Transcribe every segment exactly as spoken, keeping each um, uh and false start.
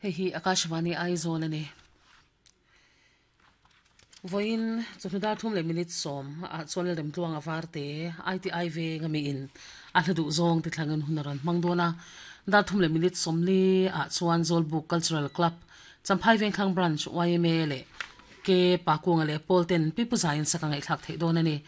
Hei hi Akashvani Aizawl a ni. Vawiin chawhnu dar thum leh minute sawm ah chuan Lalremtluanga Varte I T I veng ami in a hla duh zawng ti thlangin hun a rawn hmang dawn a. Dar thum leh minute sawmli ah chuan Zawlbuk Cultural Club, Champhai Vengthlang Branch Y M A leh K Pakunga leh Pawl ten Pi Pu Zaiin sak a ngaihthlak theih dawn a ni.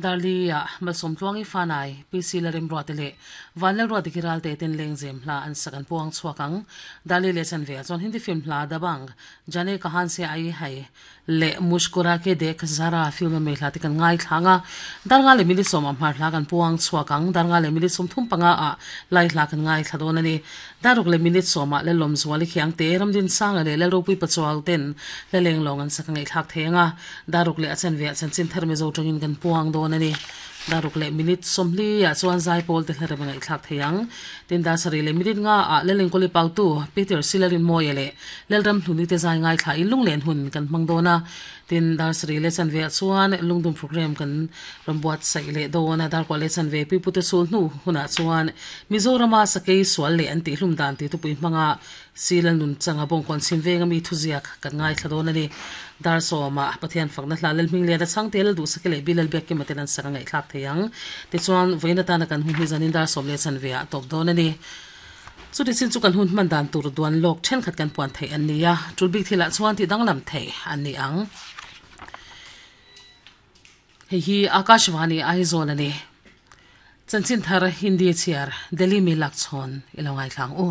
Darli ah Malsawmtluangi Fanai, P C Lalremruate leh Vanlalruate Kiralte ten lengzem hla an sak an puang chhuak ang. Darli leh chanve ah chuan Hindi film hla Dabang, Jane Kahan Se Aai Hai leh Muskura Ke Dekh Zara film a mei hla te kan ngaithlang a. Darnga leh mili sawm ah hmar hla kan puang chhuak ang. Darnga leh mili sawm thum panga ah lai hla kan ngaithla dawn a ni. Daruk leh minute sawm ah Lalawm Zuali Khiangte, Ramdin Sanga leh Lalropui Pachuau ten hlaleng lawng an sak a ngaihthlak thei ang a. Daruk leh a chanve ah chanchin thar Mizo tangin kan puang dawn a ni. Daruk leh minute sawmli ah chuan Zaipawl te hlarem a ngaihthlak thei ang. Tin Dasari leh minute nga ah Lalengkawli Pautu, Peter Silarinmawia leh Lalram Hluni te zai ngaithla in lunglen hun kan hmang dawn a. Tin Dasari leh chanve ah chuan lungdum program kan rawn buatsaih leh dawn a. Darkuah leh chanve Pipute sul hnu hunah chuan Mizorama sakei sual leh an tihhlum dan tih tupui hmanga Silal nun changa bawngkawn chhim venga mi thuziak kan ngaithla dawn a ni. Dar sawma Pathian fakna hla Lalhming lian a chhang te Lal duhsake leh Bilal Biakkima ten an sak a ngaihthlak thei ang. Tichuan, vawiin atana kan hun hi zanin dar sawm leh chanve ah tawp dawn a ni. Chuti chin chu kan hun hman dan tur duan lawk thenkhat kan puan theih an ni a, tul bik thilah chuan tih danglam theih an ni ang. Hei hi Akashvani Aizawl a ni. Chanchin thar Hindi chhiar Delhi mi lakchhawn i lo ngaithla ang u.